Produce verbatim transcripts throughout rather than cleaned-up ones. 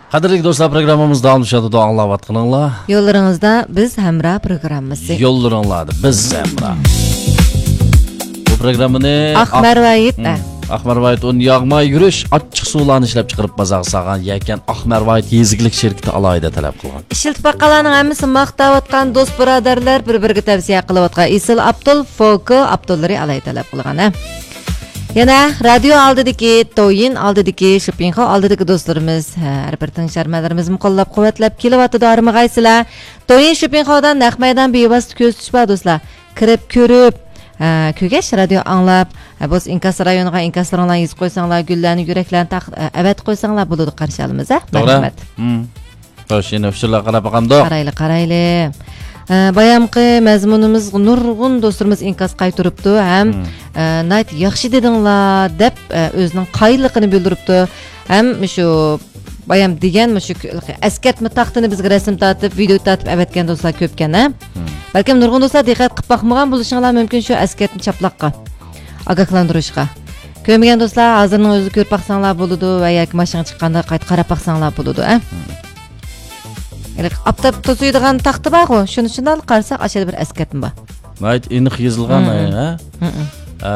قەدىرلىك دوستلار، پروگراممىمىز داۋاملىشىۋاتىدۇ، ئاڭلاۋاتقىنىڭلار. يوللىرىڭىزدا بىز ھەمراھ پروگراممىسى. يوللىرىڭلاردا بىز ھەمراھ. بۇ پروگراممىنى ئاق ئاق-، مەرۋايىت، ھىم، ئە. ئاق مەرۋايىت ئۇن ياغماي يۈرۈش، ئاچچىق سۇلارنى ئىشلەپ چىقىرىپ بازارغا سالغان يەكەن ئاق مەرۋايىت يېزا ئىگىلىك شىركىتى ئالاھىدە تەلەپ قىلغان. ئىشلىتىپ باققانلارنىڭ ھەممىسى ماختاۋاتقان، دوست بۇرادەرلەر بىر-بىرىگە تەۋسىيە قىلىۋاتقان ئېسىل ئابدۇل فوكو ئابدۇللىرى ئالاھىدە تەلەپ قىلغان، ھە. يەنە رادىيو ئالدىدىكى، تويىن ئالدىدىكى، شۇپىڭخاۋ ئالدىدىكى دوستلىرىمىز، ھە، ھەر بىر تىڭشارمەنلىرىمىزمۇ قوللاپ-قۇۋۋەتلەپ كېلىۋاتىدۇ، ھارمىغايسىلەر. تويىن شۇپىڭخاۋدا نەق مەيدان بىۋاسىتە كۆزىتىش بار، دوستلار. كىرىپ كۆرۈپ، ھە، كۆرگەچ رادىيو ئاڭلاپ، ھە، بولسا ئىنكاس رايونىغا ئىنكاسلىرىڭلارنى يېزىپ قويساڭلار، گۈللەرنى، يۈرەكلەرنى تاق-، ئە، ئەۋەتىپ قويساڭلار بولىدۇ، قارشى ئالىمىز، ھە. توغرا. مەرھەمەت. ھىم. خوش، يەنە ئۇچۇرلارغا قاراپ باقامدۇق؟ قارايلى، قارايلى. ئە، بايامقى مەزمۇنىمىز نۇرغۇن دوستلىرىمىز ئىنكاس قايتۇرۇپتۇ ھەم، مم. ئە، ناھايىتى ياخشى دېدىڭلار دەپ، ئە، ئۆزىنىڭ قايىللىقىنى بىلدۈرۈپتۇ. ھەم مۇشۇ بايام دېگەن مۇشۇ ئەسكەرتمە تاختىنى بىزگە رەسىم تارتىپ، ۋىدېئو تارتىپ ئەۋەتكەن دوستلار كۆپكەن، ھە؟ مم. بەلكىم نۇرغۇن دوستلار دىققەت قىلىپ باقمىغان بولۇشۇڭلار مۇمكىن شۇ ئەسكەرتمە چاپلاققا. ئاگاھلاندۇرۇشقا. كۆرمىگەن دوستلار ھازىرنىڭ ئۆزىدە كۆرۈپ باقساڭلار بولىدۇ ۋە ياكى ماشىنىغا چىققاندا قايتا قاراپ باقساڭلار بولىدۇ، ئە. مم. ھېلىقى ئاپتاپ توسۇيدىغان تاختا بارغۇ، شۇنى شۇنداق قارىساق، ئاشۇ يەردە بىر ئەسكەرتمە بار. ناھايىتى ئېنىق يېزىلغان، مم. ھە؟ مم. ئە،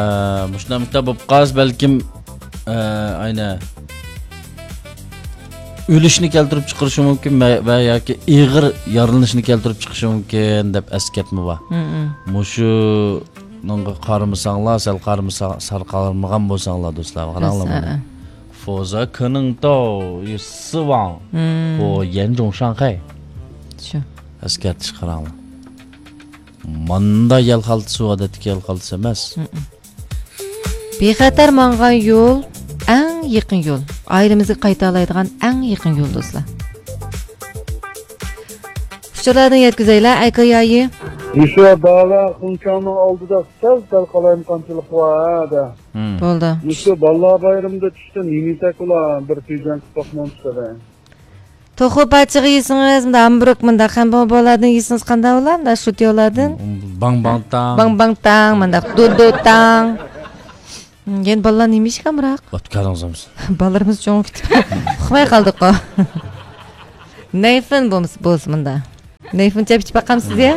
مۇشۇنداق مۇشۇنداق بولۇپ قالسا، بەلكىم، ئە، ئاينى ئۆلۈشنى كەلتۈرۈپ چىقىرىشى مۇمكىن ۋە، ۋە ياكى ئېغىر يارىلىنىشنى كەلتۈرۈپ چىقىشى مۇمكىن دەپ ئەسكەرتمە بار. مم. مۇشۇنىڭغا قارىمىساڭلار، سەل قارىمىسا-، سەل قارىمىغان بولساڭلار، دوستلار، قاراڭلار بۇنى. 否则可能到死亡或严重伤害. شۇ. ئەسكەرتىش قاراڭلار. ماندا يەل خالتىسى ئادەتتىكى يەل خالتىسى ئەمەس. بىخەتەر ماڭغان يول، ئەڭ يېقىن يول. ئائىلىمىزگە قايتالايدىغان ئەڭ يېقىن يول، دوستلار. ئۇچۇرلاردىن يەتكۈزەيلى، ئەكە يايى. مۇشۇ داۋا خۇڭچاڭنىڭ ئالدىدا سەل-سەل قالايمىقانچىلىق بار-دە. مم. بولدى. مۇشۇ بالىلار بايرىمىدا چۈشتە نېمە يېسەك بولا؟ بىر تۈجەن قىپاقنىڭ ئۈستىدە. توخۇ پاچىقى يېسىڭىز، مۇنداق ھامبۇرۇك، مۇنداق خەنبوڭبولاردىن يېسىڭىز قانداق بولا؟ مۇنداق شۇتيولاردىن. باڭ باڭ تاڭ. باڭ باڭ تاڭ، مۇنداق دۇدۇ تاڭ. يەنە بالىلار نېمە يېيىشكە ئامراق؟ ئوتكارىڭىز بولمىسۇن. بالىلىرىمىز چوڭىيىپ كېتىپ ئۇخلىماي قالدۇققۇ. نەيفىن بولمىسا، بولسا مۇندا. نەيفىن چەپ ئىچىپ باقامسىز يا؟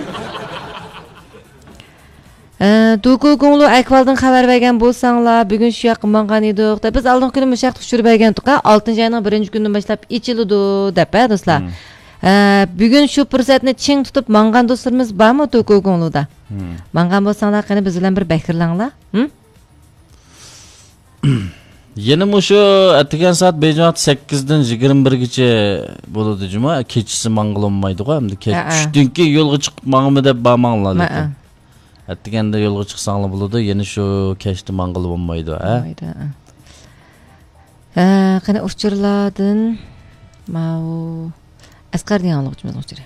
ئە، دوكۇ گۇڭلۇ ئەھۋالدىن خەۋەر بەرگەن بولساڭلار، بۈگۈن شۇ ياققا ماڭغان ئىدۇق دەپ. بىز ئالدىنقى كۈنى مۇشۇ ياقتا ئۇچۇر بەرگەنتۇق-ھە، ئالتىنچى ئاينىڭ بىرىنچى كۈنىدىن باشلاپ ئېچىلىدۇ دەپ، ھە، دوستلار. مم. ئە، بۈگۈن شۇ پۇرسەتنى چىڭ تۇتۇپ ماڭغان دوستلىرىمىز بارمۇ دوكۇ گۇڭلۇدا؟ مم. ماڭغان بولساڭلار، قېنى بىز بىلەن بىر بەھرىلەڭلار. ھىم؟ يەنە مۇشۇ ئەتىگەن سائەت بېيجىڭ ۋاقتى سەككىزدىن يىگىرمە بىرگىچە بولىدۇ جۇمۇ. كېچىسى ماڭغىلى بولمايدىغۇ، ئەمدى كەچ ھەئە. چۈشتىن كېيىن يولغا چىقىپ ماڭىمەن دەپ بارماڭلار ھەئە. لېكىن. ئەتىگەندە يولغا چىقساڭلار بولىدۇ، يەنە شۇ كەچتە ماڭغىلى بولمايدۇ، ھە؟ بولمايدۇ، ھە. ھە، قېنى ئۇچۇرلاردىن ماۋۇ ئەسقەر دېگەن ئاڭلىغۇچىمىزنىڭ ئۇچۇرى.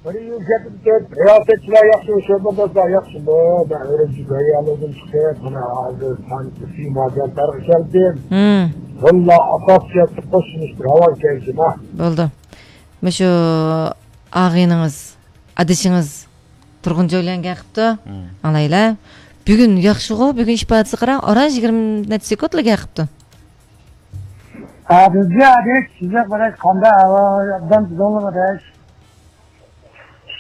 بىر يىل كېتىپ كېتىپ، رىياسەتچىلەر ياخشى، شۇ بىر دوستلار ياخشىمۇ؟ مەن ئۈرۈمچى بىر يەرلەردىن چىقىپ، مانا ھازىر سانچىسى مازىيانتارغا كەلدىم. ھىم. بالىلار ئاساسىي شەرتتە قوشۇلۇشتى، راۋان كەلدىم، ھە. بولدى. مۇشۇ ئاغىنىڭىز، ئادىشىڭىز تۇرغۇنجاي بىلەن گەپ قىپتۇ. ھىم. ئاڭلايلى. بۈگۈن ياخشىغۇ، بۈگۈن ئىپادىسىگە قاراڭ، ئاران يىگىرمە نەچچە سېكۇنتلا گەپ قىپتۇ. ئادىلجان، ئادىش، سىزگە قاراش قانداق ئەھۋال؟ ئوبدان تۇردۇڭلارمۇ، ئاداش؟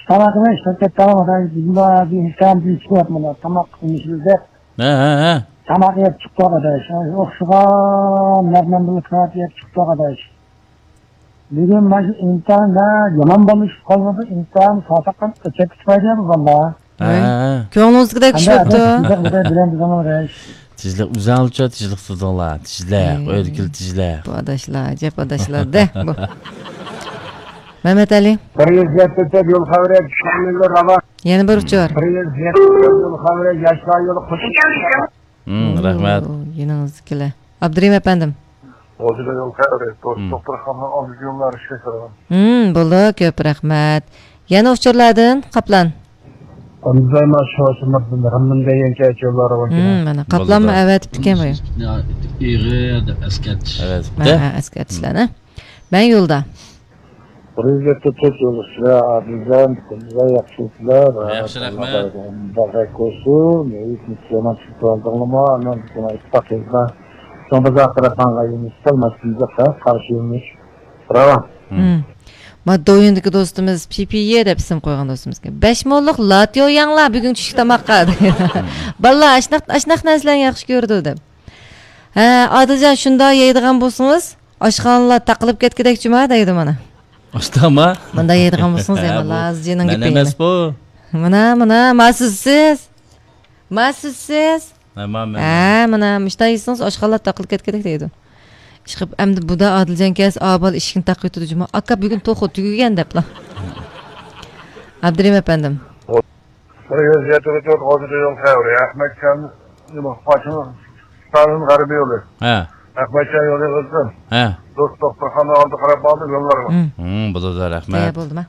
تاماقنى ئىشلەپ كەتتىڭلارمۇ، ئاداش؟ بىزمۇ ھازىر ئىشتىن چىقىۋاتىمىز، تاماق قىلمىشىمىز دەپ. ھە، ھە، ھە. تاماق يەپ چىقتۇق، ئاداش. ئوخشىغان مەرمەن بىلەن كاۋاپ يەپ چىقتۇق، ئاداش. بۈگۈن مانا شۇ ئىمتىھان يامان بولۇش قالمىدى، ئىمتىھان ساساققان ئۆتۈپ كېتىپ بۇ بالىلار. ھە. ۋاي، كۆڭلىڭىزدىكىدەك چۈشۈپتۇ. تىزلىق بىلەن بىزنىڭ رەيس. تىزلىق ئۆزەڭلارچە تىزلىق تۇردۇڭلار. تىزلىق، ئەي، ئۆيدىكىلا تىزلىق. بۇ ئاداشلار، ئەجەب ئاداشلار-دە بۇ. مەمەتئەلى. بىر يۈز يەتتە يول خەۋىرى، چۈشەنمىگە راۋان. يەنە بىر ئۇچۇر. بىر يۈز يەتتە يول خەۋىرى، ياشلار يولى قوشۇپ. ھىم، رەھمەت. ئوو، يېنىڭىزدىكىلەر. ئابدۇرېھىم ئەپەندىم. ھوجىدا يول خەۋىرى، دوست دوختۇرخانىنىڭ ئالدىدىكى يوللار ئىشلەشتۈرۈلگەن. ھىم، بولدى، كۆپ رەھمەت. يەنە ئۇچۇرلاردىن، قاپلان. ئەمدى مانا شۇ شۇنداق غەممىن دېگەن كەچ يوللار بار. ھىم، مانا، قاپلانمۇ ئەۋەتىپتىكەن بۇ. ئېغىر دەپ ئەسكەرتىش. ئەۋەتىپتۇ. ھە، ھە، ئەسكەرتىشلەرنى. مەن يولدا. بىر يۈز يەتتە تۆت يول ئۈستىدە ئادىلجان، قىزلار ياخشىسىلەر. ياخشى، رەھمەت. مۇبارەك بولسۇن. ھېچ يامان چىقىپ قالدىڭلارمۇ؟ ئانان ساڭا ئىتتىپاق يولدا. چوڭ بازار تەرەپ ماڭغان يولىمىز سەل ماس كېلىدۇ، قارشى يولىمىز راۋان. مم. مم. ما دويۇندىكى دوستىمىز پى پى يې دەپ ئىسىم قويغان دوستىمىزكەن. بەش مونلۇق لاتيو يەڭلار بۈگۈن چۈشلۈك تاماققا. بالىلار ئاشناق، ئاشناق نەرسىلەرنى ياخشى كۆرىدۇ دەپ. ھە، ئادىلجان، شۇنداق يەيدىغان بولسىڭىز، ئاشخانىلار تاقىلىپ كەتكۈدەك جۇما دەيدۇ مانا. ئاشتاما؟ مۇنداق يەيدىغان بولسىڭىز، ھە، يەڭلار بۇ ئاز جېنىڭ مەن گېپىنى. ئەمەس بۇ. مانا، مانا، ما سىزسىز. ما سىزسىز. ھە، ما مەن. ھە، مانا، مۇشۇنداق يېسىڭىز، ئاشخانىلار تاقىلىپ كەتكۈدەك دەيدۇ. ئىشقىلىپ، ئەمدى بۇدا ئادىلجان كەلسە، ئابال ئىشىكنى تاقىۋېتىدۇ جۇما. ئاكا، بۈگۈن توخۇ تۈگىگەن دەپلا. ئابدۇرېھىم ئەپەندىم. بىر يۈز يەتتە تۆت ئوتتۇز يول خەۋىرى. ئەخمەتجان، نېمە، قاچىمۇ، ستالىن غەربىي يولى. ھە. ئەخمەتجان يولى ئۆزۈم. ھە. دوست دوختۇرخانا ئالدى قاراپ باردىم يوللارغا. مم. مم، بولىدۇ، رەھمەت. تەييار بولدىما؟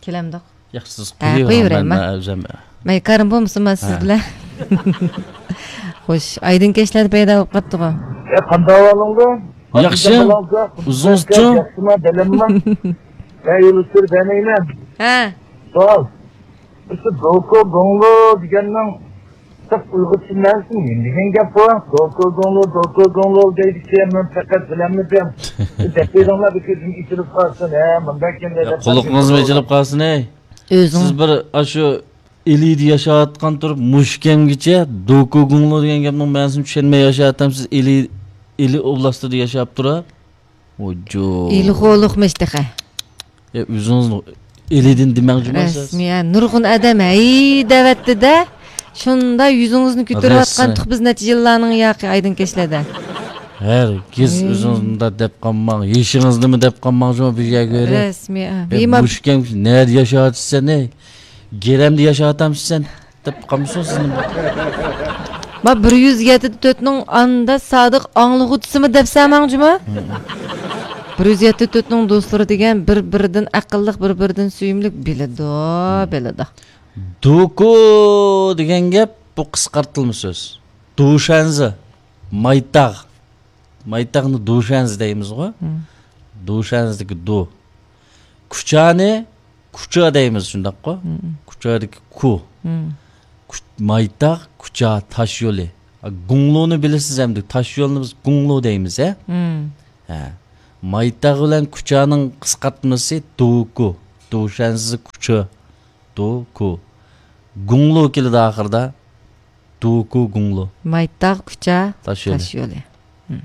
كېلەمدۇق. ياخشى، سىز ھە، قويۇۋېرىڭ، قويۇۋېرەيما؟ مەن، مەن ئۆزۈم. مەن كارىم بولمىسۇن، مەن سىز ھە. بىلەن. خوش، ئايدىن كەچلەردە پەيدا بولۇپ قاپتىغۇ. ئە، قانداق ئەھۋالىڭدۇ؟ ياخشى. ئۆزىڭىزچۇ؟ ياخشىما، بەلەمما؟ مەن يولۇستۇر دەمەيمەن. ھە. سوئال. مۇشۇ دوكو گوڭلو دېگەننىڭ سەپ ئۇيغۇرچە مەنىسى نېمە دېگەن گەپ بۇ؟ دوكو گوڭلو، دوكو گوڭلو دەيدىكەن، مەن پەقەت بىلەلمىدىم. دەپ بېرىڭلار، بىر كۆزۈم ئېچىلىپ قالسۇن. ھە، مۇنداق ئىكەن، يا، دەپ قۇلىقىڭىزمۇ ئېچىلىپ قالسۇن، ھەي. ئۆزۈڭ. سىز بىر ئاشۇ ئىلىدە ياشاۋاتقان تۇرۇپ، مۇشۇ كەمگىچە دوكو گوڭلو دېگەن گەپنىڭ مەنىسىنى چۈشەنمەي ياشاۋاتامسىز. ئىلى، ئىلى ئوبلاستىدا ياشاپ تۇرۇپ. ۋوجۇ. ئىلى خولۇقمىش تېخى. يا، ئۆزىڭىزنىڭ ئىلىدىن دېمەڭ جۇما سىز. رەسمىي، ھە، نۇرغۇن ئادەم ھەي دەۋەتتى-دە. شۇنداق يۈزىڭىزنى كۆتۈرۈۋاتقان رەسمىي. تۇق بىز نەچچە يىللارنىڭ ياقى ئايدىڭ كەچلەردە. ھەرگىز ھەي. ئۆزىڭىز مۇنداق دەپ قالماڭ. يېشىڭىزنىمۇ دەپ قالماڭ جۇما بىر يەرگە بېرىپ. رەسمىي، ھە. ھەي، مۇشۇ كەم نەدە ياشاۋاتىسەن، ھەي؟ گىرەمدە ياشاۋاتامسەن سەن؟ دەپ قالمىسۇن سىزنى. ما بىر يۈز يەتتە تۆتنىڭ ئاندا سادىق ئاڭلىغۇچىسىمۇ دەپسەن ماڭ جۇما؟ بىر يۈز يەتتە تۆتنىڭ دوستلىرى دېگەن بىر-بىرىدىن ئەقىللىق، بىر-بىرىدىن سۆيۈملۈك بىلىدۇ، بىلىدۇ. دوكو دېگەن گەپ بۇ قىسقارتىلما سۆز. دوشەنزى، مايتاغ. مايتاغنى دوشەنزى دەيمىزغۇ؟ دوشەنزىدىكى دو. كۇچانى كۇچا دەيمىز، شۇنداققۇ؟ كۇچادىكى كۇ. كۇ-، مايتاغ، كۇچا، تاش يولى. گۇڭلۇنى بىلىسىز ئەمدى، تاش يولنى بىز گۇڭلۇ دەيمىز، ھە؟ ھە. مايتاغ بىلەن كۇچانىڭ قىسقارتمىسى دوكۇ. دوشەنزى كۇچا. دوكۇ. گۇڭلۇ كېلىدۇ ئاخىرىدا. دوكۇ گۇڭلۇ. مايتاغ كۇچا تاش يولى. تاش يولى. ھىم.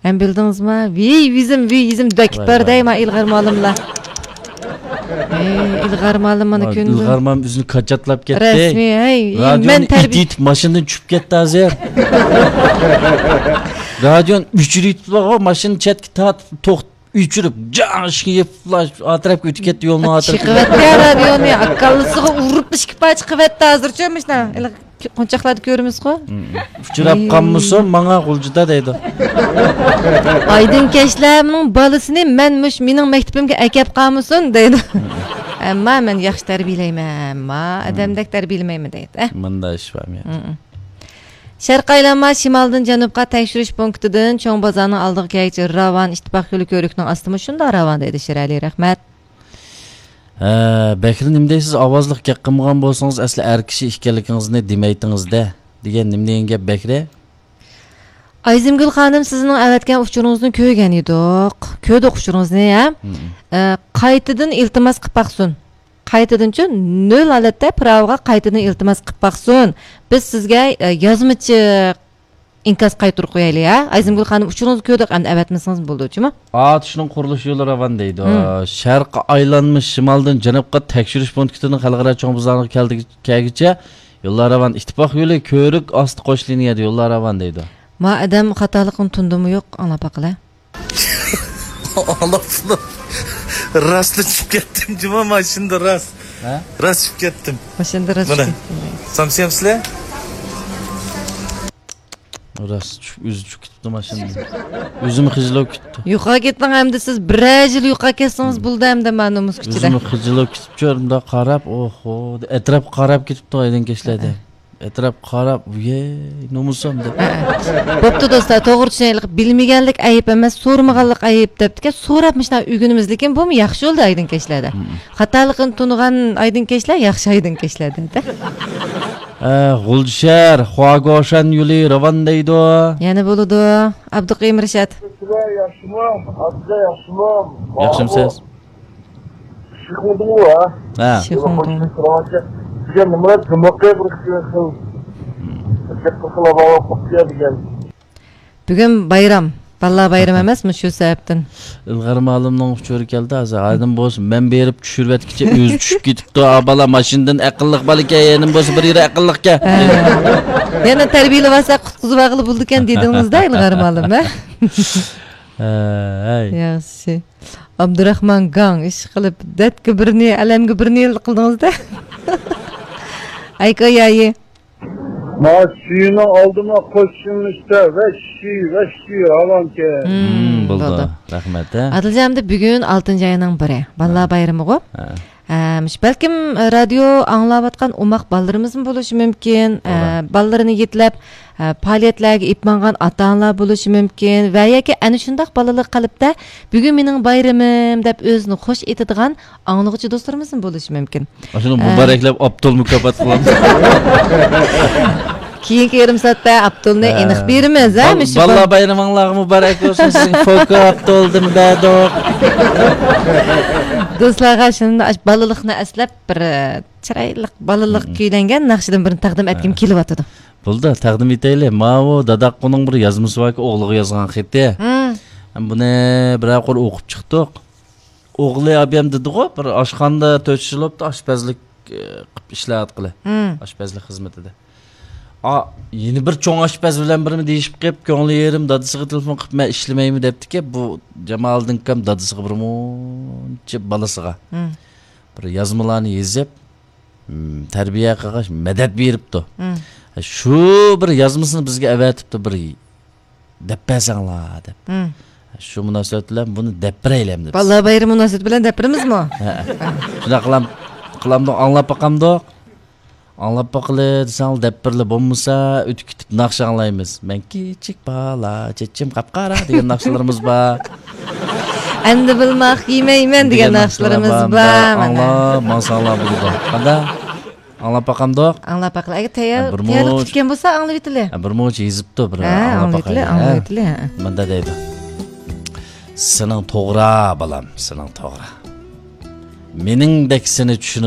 ھەم بىلدىڭىزما؟ ۋىي ۋىزىم، ۋىي يىزىم دەكىت ۋاي، بار ۋاي. دەي ما ئىلغار مۇئەللىملار. ھەي، ئىلغار مۇئەللىم مانا ۋاي، كۈندە. ئىلغار مۇئەللىم ئۆزىنى كاچاتلاپ كەتتى. رەسمىي، ھەي، رادىيونى مەن تەربىي- ئىت ئېتىپ ماشىنىدىن چۈشۈپ كەتتى ھازىر. رادىيونى ئۆچۈرۈۋېتىپلا، ماشىنىنى چەتكە تارتىپ توختىتىپ. ئۆچۈرۈپ، جاڭ ئىشىكنى يېپىپلا، ئا تەرەپكە ئۆتۈپ كەتتى يولنىڭ ئا تەرىپىگە. چىقىۋەتتى رادىيونى، كاللىسىغا ئۇرۇپ ئىككى پارچە قىلىۋەتتى ھازىرچۇ، مۇشۇنداق قونچاقلاردا كۆرىمىزغۇ. ئۇچراپ قالمىسۇن ماڭا غۇلجىدا دەيدۇ. ئايدىن كەچلەرنىڭ بالىسىنى مەن مۇش مېنىڭ مەكتىپىمگە ئەكەپ قالمىسۇن دەيدۇ. ئەمما مەن ياخشى تەربىيەلەيمەن، ئەمما ئادەمدەك تەربىيەلىمەيمەن دەيدۇ. مۇنداق ئىش بارمۇ؟ شەرقىي ئايلانما شىمالدىن جەنۇبقا تەكشۈرۈش پونكىتىدىن چوڭ بازارنىڭ ئالدىغا كەلگۈچە راۋان، ئىتتىپاق يولى كۆۋرۈكنىڭ ئاستىمۇ شۇنداق راۋان دەيدۇ شىرئەلى، رەھمەت. ھە، بەكرى نېمە دەيسىز؟ ئاۋازلىق گەپ قىلمىغان بولسىڭىز، ئەسلى ئەر كىشى ئىكەنلىكىڭىزنى دېمەيتىڭىز-دە، دېگەن نېمە دېگەن گەپ بەكرى؟ ئايزىمگۈل خانىم، سىزنىڭ ئەۋەتكەن ئۇچۇرىڭىزنى كۆرگەن ئىدۇق. كۆردۇق ئۇچۇرىڭىزنى، ھە؟ ھىم. ئە، قايتىدىن ئىلتىماس قىلىپ باقسۇن. قايتىدىنچۇ، نۆل ھالەتتە پىراۋىغا قايتىدىن ئىلتىماس قىلىپ باقسۇن. بىز سىزگە، ئە، يازمىچە ئىنكاس قايتۇرۇپ قويايلى، ھە؟ ئايزىمگۈل خانىم، ئۇچۇرىڭىزنى كۆردۇق، ئەمدى ئەۋەتمىسىڭىز بولىدۇ، جۇمۇ؟ ئاتۇشنىڭ قۇرۇلۇش يولى راۋان دەيدۇ. ھىم. شەرققە ئايلانما شىمالدىن جەنۇبقا تەكشۈرۈش پونكىتىنىڭ خەلقئارا چوڭ بازارىغا كەلدى-، كەلگۈچە يوللار راۋان، ئىتتىپاق يولى، كۆۋرۈك ئاستى قوش لىنىيەدە يوللار راۋان دەيدۇ. ما ئادەم خاتالىقىنى تونۇدىمۇ يوق، ئاڭلاپ باقىلى. ئاڭلاپلا راستلا چۈشۈپ كەتتىم جۇما ماشىنىدا راست. ھە؟ راست چۈشۈپ كەتتىم. ماشىنىدا راست مانا. چۈشۈپ كەتتىم. سامسىيامسىلەر؟ راست چۈشۈپ، ئۆزى چۈشۈپ كېتىپتۇ ماشىنىدا. ئۆزىمۇ خىجىل بولۇپ كېتىپتۇ. يوقاپ كېتىڭ ئەمدى سىز بىرەر يىل يوقاپ كەتسىڭىز بولدى ئەمدى مانا نومۇس كۈچىدە. ئۆزىمۇ خىجىل بولۇپ كېتىپتۇ، مۇنداق قاراپ، ئوھو، ئەتراپقا قاراپ كېتىپتۇ ئايدىن كەچلەردە. ئەتراپقا قاراپ، ۋىي، نومۇسۇم دەپ. ھە، ھە. بوپتۇ دوستلار، توغرا چۈشىنەيلى، بىلمىگەنلىك ئەيىب ئەمەس، سورىمىغانلىق ئەيىب دەپتىكەن، سوراپ مۇشۇنداق ئۆگىنىمىز، لېكىن بۇمۇ ياخشى بولدى ئايدىن كەچلەردە. خاتالىقىنى تونۇغان ئايدىن كەچلەر ياخشى ئايدىن كەچلەردە. ئە، غۇلجا شەھەر، خۇاگوشەن يولى راۋان دەيدۇ. يەنە بولىدۇ. ئابدۇقېيۇم رىشات. سىلەر ياخشىمۇ؟ ئابدۇ ياخشىمۇ؟ ياخشىمسىز؟ شىخۇدۇڭ ۋە. ھە. شىخۇدۇڭ. بۈگۈن نېمە جۇمۇقى بىر خىل گەپ قىلسىلا باۋا قوپتىيا دېگەن. بۈگۈن بايرام. بالىلار بايرىمى ئەمەسمۇ شۇ سەۋەبتىن؟ ئىلغار مالىمنىڭ ئۇچۇرى كەلدى ھازىر. ھايدىن بولسا مەن بېرىپ چۈشۈرۈۋەتكىچە ئۆزى چۈشۈپ كېتىپتۇ. ئا بالا ماشىنىدىن ئەقىللىق بالىكەن، يەنە بولسا بىر يېرى ئەقىللىقكەن. ھە. يەنە تەربىيەلىۋالسا قۇتقۇزۇۋالغىلى بولىدىكەن دېدىڭىزدا ئىلغار مالىم، ھە؟ ھەي. ياخشى. ئابدۇراخمان گاڭ، ئىشقىلىپ دەتكە بىرنى، ئەلەمگە بىرنى قىلدىڭىزدا. ئايكو يايى. ما سۈيىنىڭ ئالدىما قوشۇلمىشتا ۋەششى، ۋەششى راۋانكەن. مم، بولدى. بولدى. رەھمەت، ھە. ئادىلجان، ئەمدى بۈگۈن ئالتىنچى ئاينىڭ بىرى. بالىلار ھە. بايرىمىغۇ. ھە. ئە، مۇشۇ بەلكىم رادىيو ئاڭلاۋاتقان ئوماق بالىلىرىمىزمۇ بولۇشى مۇمكىن. ئە، توغرا. بالىلىرىنى يېتىلەپ، ئە، پائالىيەتلەرگە ئېلىپ ماڭغان ئاتا-ئانىلار بولۇشى مۇمكىن. ۋە ياكى ئەنە شۇنداق بالىلىق قەلبتە بۈگۈن مېنىڭ بايرىمىم دەپ ئۆزىنى خوش ئېتىدىغان ئاڭلىغۇچى دوستلىرىمىزمۇ بولۇشى مۇمكىن. ئاشۇنى ھە. مۇبارەكلەپ ئاپتول مۇكاپات قىلامسىز؟ كېيىنكى يېرىم سائەتتە ئاپتولنى ھە. ئېنىق بېرىمىز، ھە، بال-، مۇشۇ بالىلار بال- بايرىمىڭلارغا مۇبارەك بولسۇن، سىزگە فوكا ئاپتولدىن بەردۇق. دوستلارغا شۇنداق بالىلىقنى ئەسلەپ، بىر، ئە، چىرايلىق بالىلىق مم. كۈيلەنگەن ناخشىدىن بىرنى تەقدىم ئەتكۈم ھە. كېلىۋاتىدۇ. بولدى، تەقدىم ئېتەيلى. ماۋۇ داداققۇنىڭ بىر يازمىسى باركى، ئوغلىغا يازغان خېتى. مم. بۇنى بىرەر قۇر ئوقۇپ چىقتۇق. ئوغلى ئابىيام دېدىغۇ، بىر ئاشخانىدا تۆت يىل بوپتۇ، ئاشپەزلىك، ئى، قىلىپ ئىشلەۋاتقىلى. مم. ئاشپەزلىك خىزمىتىدە. ئا، يەنە بىر چوڭ ئاشپەز بىلەن بىرنى دېيىشىپ قېلىپ، كۆڭلى يېرىم دادىسىغا تېلېفون قىلىپ، مەن ئىشلىمەيمەن دەپتىكەن، بۇ جامالىدىن ئاكام دادىسىغا بىر مۇنچە بالىسىغا مم. بىر يازمىلارنى يېزىپ، مم، تەربىيە قىلغاچ مەدەت بېرىپتۇ. مم. شۇ بىر يازمىسىنى بىزگە ئەۋەتىپتۇ، بىر دەپ بەرسەڭلار دەپ. مم. شۇ مۇناسىۋەت بىلەن بۇنى دەپ بېرەيلى ئەمدى بىز. بالىلار بايرىمى مۇناسىۋىتى بىلەن دەپ بېرىمىزمۇ؟ ھە. شۇنداق قىلام-، قىلامدۇق، ئاڭلاپ باقامدۇق؟ ئاڭلاپ باقىلى دېسەڭلار دەپ بېرىلى، بولمىسا ئۆتۈپ كېتىپ ناخشا ئاڭلايمىز. مەن كىچىك بالا، چېچىم قاپقارا دېگەن ناخشىلىرىمىز بار. ئەمدى بىلماق يېمەيمەن دېگەن دېگەن ناخشىلىرىمىز ناخشىلار بار، بار. مانا. ئاڭلاپ ماڭساڭلار بولىدۇ. قانداق؟ ئاڭلاپ باقامدۇق؟ ئاڭلاپ باقىلى. ئەگەر تەييار-، ھە، بىر تەييارلىق مۇنچە تۇتكەن بولسا، ئاڭلىۋېتىلى. ھە، بىر مۇنچە يېزىپتۇ، بىر ھە، ئاڭلاپ ئاڭلىۋېتىلى، باقايلى، ھە. ئاڭلىۋېتىلى، ھە. مۇندا دەيدۇ. سېنىڭ توغرا، بالام، سېنىڭ توغرا. مېنىڭدەك سېنى چۈشىنىدۇ.